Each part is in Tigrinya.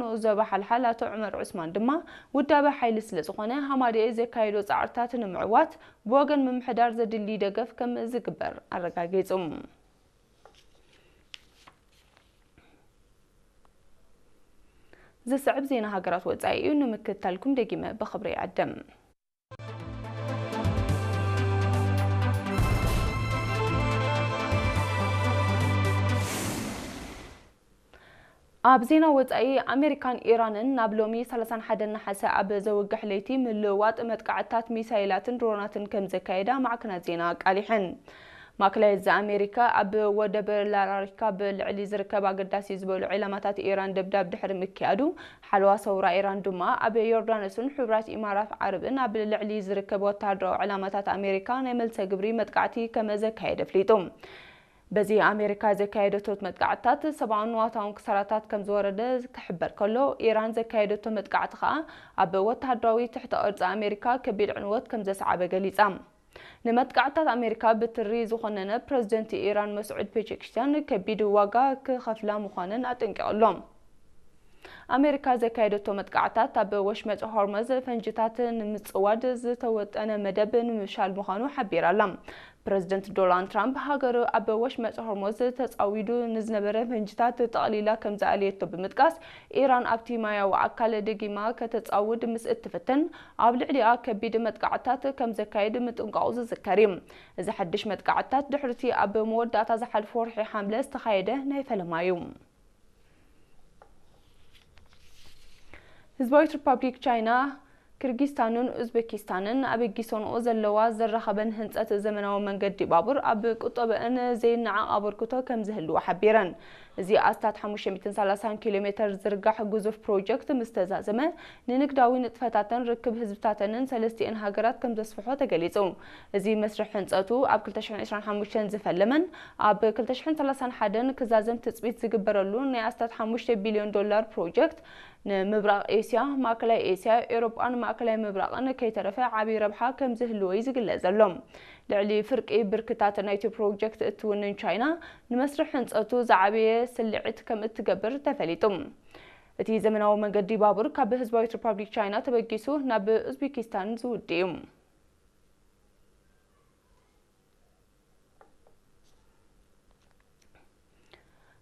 ንኡስ ዞባ ሓልሓል ኣቶ ዑመር ዑስማን ድማ፣ ውዳበ ሓይሊ ስለ ዝኾነ፣ ሃማደኤ ዘካየዶ ጻዕርታት ንምዕዋት ብወገን ምምሕዳር ዘድሊ ደገፍ ከም ዝግበር ኣረጋጊጹ። ዝስዕብ ዜና ሃገራት ወጻኢ እዩ። ንምክትታልኩም ደጊመ ብኽብሪ ይዕድም። ኣብ ዜና ወጻኢ፣ ኣሜሪካን ኢራንን ናብ ሎሚ ሰላሳን ሓደን ነሓሰ ኣብ ዘውግሕ ለይቲ ምልውዋጥ መጥቃዕትታት ሚሳይላትን ድሮናትን ከም ዘካየዳ ማዕከናት ዜና ኣቃሊሐን። ማእከላይ እዚ ኣሜሪካ ኣብ ወደብ ላራሪካ ብልዕሊ ዝርከብ ኣገዳሲ ዝበሉ ዒላማታት ኢራን ደብዳብ ድሕሪ ምክያዱ፣ ሓለዋ ሰውራ ኢራን ድማ ኣብ ዮርዳኖስን ሕቡራት ኢማራት ዓረብን ኣብ ልዕሊ ዝርከብ ወተሃደራዊ ዕላማታት ኣሜሪካ ናይ መልሰ ግብሪ መጥቃዕቲ ከም ዘካየደ ኣፍሊጡ። በዚ ኣሜሪካ ዘካየደቶ መጥቃዕትታት ሰብኣውን ንዋታውን ክሳራታት ከም ዝወረደ ክሕበር ከሎ፣ ኢራን ዘካየደቶ መጥቃዕቲ ከኣ ኣብ ወተሃደራዊ ትሕተ ቅርጺ ኣሜሪካ ከቢድ ዕንወት ከም ዘስዓበ ገሊጻ። ንመጥቃዕትታት ኣሜሪካ ብትሪ ዝኾነነ ፕረዚደንት ኢራን መስዑድ ፔዜሽኪያን ከቢድ ዋጋ ክኸፍላ ምዃነን ኣጠንቂቑ ኣሎ። ኣሜሪካ ዘካየደቶ መጥቃዕትታት ኣብ ወሽመጥ ሆርመዝ ፈንጅታት ንምጽዋድ ዝተወጠነ መደብ ንምፍሻል ምዃኑ ሓቢራ ኣላ። ፕረዚደንት ዶናልድ ትራምፕ ሃገሩ ኣብ ወሽመጥ ሆርሙዝ ተጻዊዱ ንዝነበረ ፈንጅታት ጠቕሊላ ከም ዝኣለየቶ ብምጥቃስ፣ ኢራን ኣብቲ ማያዊ ኣካል ደጊማ ከተጻውድ ምስ እትፍትን፣ ኣብ ልዕሊኣ ከቢድ መጥቃዕትታት ከም ዘካይድ ምጥንቃቑ ዝዝከር እዩ። እዚ ሓድሽ መጥቃዕትታት ድሕሪቲ ኣብ መወዳእታ ዝሓለፈ ወርሒ ሓምለ ዝተኻየደ ናይ ፈለማ እዩ። ህዝባዊት ሪፓብሊክ ቻይና፣ ኪርጊስታንን ኡዝቤኪስታንን ኣበጊሶንኦ ዘለዋ ዘራኸበን ህንጸት ዘመናዊ መንገዲ ባቡር ኣብ ቁጠበአን ዘይነዓቕ ኣበርክቶ ከም ዝህልዎ ሓቢረን። እዚ ኣስታት ሓሙሽተ ሚእትን ሰላሳን ኪሎ ሜተር ዝርጋሕ ግዙፍ ፕሮጀክት ምስ ተዛዘመ፣ ንንግዳዊ ንጥፈታተን ርክብ ህዝብታተንን ሰለስቲአን ሃገራት ከም ዘስፍሖ ተገሊጹ። እዚ መስርሕ ህንጸቱ ኣብ ክልተ ሽሕን ዕስራን ሓሙሽተን ዝፈለመን ኣብ ክልተ ሽሕን ሰላሳን ሓደን ክዛዘም ትጽቢት ዝግበረሉ ናይ ኣስታት ሓሙሽተ ቢልዮን ዶላር ፕሮጀክት፣ ንምብራቕ ኤስያ፣ ማእከላይ ኤስያ፣ ኤውሮጳን ማእከላይ ምብራቕን ከይተረፈ ዓቢ ረብሓ ከም ዝህልዎ እዩ ዝግለጽ ዘሎ። ልዕሊ ፍርቂ ብርክታት ናይቲ ፕሮጀክት እትውንን ቻይና፣ ንመስርሕ ህንጸቱ ዝዓበየ ስልዒት ከም እትገብር ተፈሊጡ። እቲ ዘመናዊ መንገዲ ባቡር ካብ ህዝባዊት ሪፓብሊክ ቻይና ተበጊሱ ናብ ኡዝቤኪስታን ዝውድእ እዩ።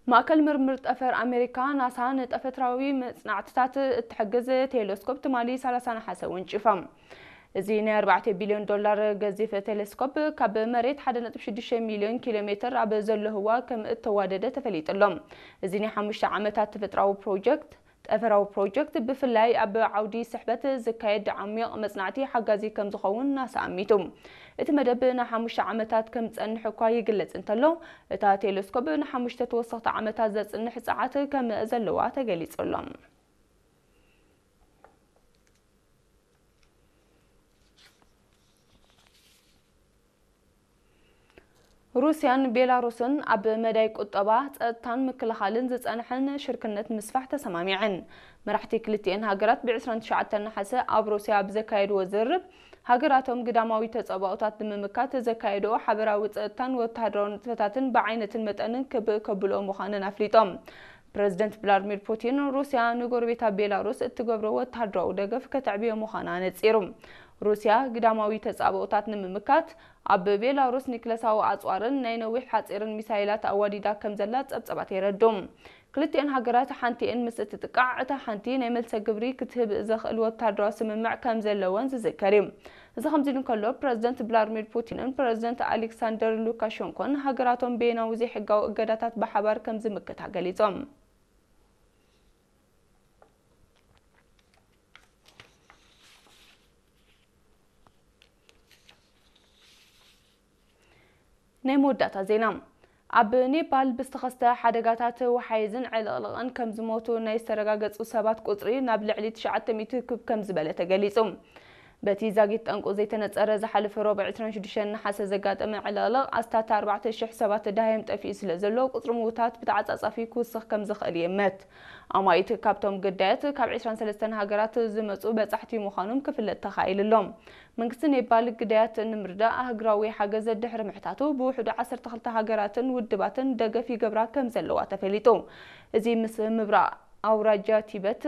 ማእከል ምርምር ጠፈር ኣሜሪካ፣ ናሳ፣ ንጠፈትራዊ መጽናዕትታት እትሕግዝ ቴሌስኮፕ ትማሊ ሰላሳ ነሓሰ ወንጪፋ። እዚ ናይ ኣርባዕተ ቢልዮን ዶላር ገዚፍ ቴሌስኮፕ፣ ካብ መሬት ሓደ ነጥቢ ሽዱሽተ ሚልዮን ኪሎ ሜተር ኣብ ዘሎ ህዋ ከም እተዋደደ ተፈሊጡ ኣሎ። እዚ ናይ ሓሙሽተ ዓመታት ተፈጥራዊ ፕሮጀክት፣ ጠፈራዊ ፕሮጀክት፣ ብፍላይ ኣብ ዓውዲ ስሕበት ዝካየድ ዓሚቕ መጽናዕቲ ሓጋዚ ከም ዝኸውን ናሳ ኣሚቱ። እቲ መደብ ንሓሙሽተ ዓመታት ከም ዝጸንሕ እኳ ይግለጽ እንተሎ፣ እታ ቴሌስኮፕ ንሓሙሽተ ተወሰኽቲ ዓመታት ዘጽንሕ ጸዓት ከም ዘለዋ ተገሊጹ ኣሎ። ሩስያን ቤላሩስን ኣብ መዳይ ቁጠባ፣ ጸጥታን ምክልኻልን ዝጸንሐን ሽርክነት ምስፋሕ ተሰማሚዐን። መራሕቲ ክልቲኤን ሃገራት ብ ዕስራን ትሽዓተን ነሓሰ ኣብ ሩስያ ኣብ ዘካየድዎ ዝርርብ፣ ሃገራቶም ግዳማዊ ተጻብኦታት ንምምካት ዘካየድኦ ሓበራዊ ጸጥታን ወተሃደራዊ ንጥፈታትን ብዓይነትን መጠንን ክብ ከብልኦ ምዃነን ኣፍሊጦም። ፕረዚደንት ቭላድሚር ፑቲን፣ ሩስያ ንጎረቤታ ቤላሩስ እትገብሮ ወተሃደራዊ ደገፍ ከተዕብዮ ምዃና ነጺሩ። ሩስያ ግዳማዊ ተጻብኦታት ንምምካት ኣብ ቤላሩስ ኒክለሳዊ ኣጽዋርን ናይ ነዊሕ ሓጺርን ሚሳይላት ኣዋዲዳ ከም ዘላ ጸብጸባት የረድኡ። ክልቲኤን ሃገራት ሓንቲኤን ምስ እትጥቃዕ፣ እታ ሓንቲ ናይ መልሰ ግብሪ ክትህብ ዘኽእል ወተሃደራዊ ስምምዕ ከም ዘለወን ዝዝከር እዩ። እዚ ከምዚ ኢሉ እንከሎ፣ ፕረዚደንት ቭላድሚር ፑቲንን ፕረዚደንት ኣሌክሳንደር ሉካሸንኮን ሃገራቶም በየናዊ ዘይሕጋዊ እገዳታት ብሓባር ከም ዝምክታ ገሊጾም። ናይ መወዳእታ ዜና። ኣብ ኔፓል ብዝተኸስተ ሓደጋታት ወሓይዝን ዕልቕልቕን ከም ዝሞቱ ናይ ዝተረጋገጹ ሰባት ቁጽሪ ናብ ልዕሊ ትሽዓተ ሚእቲ ክብ ከም ዝበለ ተገሊጹ። በቲ ዛጊት ጠንቁ ዘይተነጸረ፣ ዝሓለፈ ረቡዕ ዕስራን ሽዱሽተን ነሓሰ ዘጋጠመ ዕልቕልቕ ኣስታት ኣርባዕተ ሽሕ ሰባት ደሃዮም ጠፊኡ ስለ ዘሎ፣ ቁጽሪ ምዉታት ብተዓጻጻፊ ክውስኽ ከም ዝኽእል ይእመት። ኣማኢት ካብቶም ግዳያት ካብ ዕስራን ሰለስተን ሃገራት ዝመጹ በጻሕቲ ምዃኖም ክፍለጥ ተኻኢሉ ኣሎ። መንግስቲ ኔፓል ግዳያት ንምርዳእ ኣህጉራዊ ሓገዝ ድሕሪ ምሕታቱ፣ ብውሕዱ ዓሰርተ ክልተ ሃገራትን ውድባትን ደገፍ ይገብራ ከም ዘለዋ ተፈሊጡ። እዚ ምስ ምብራቕ ኣውራጃ ቲበት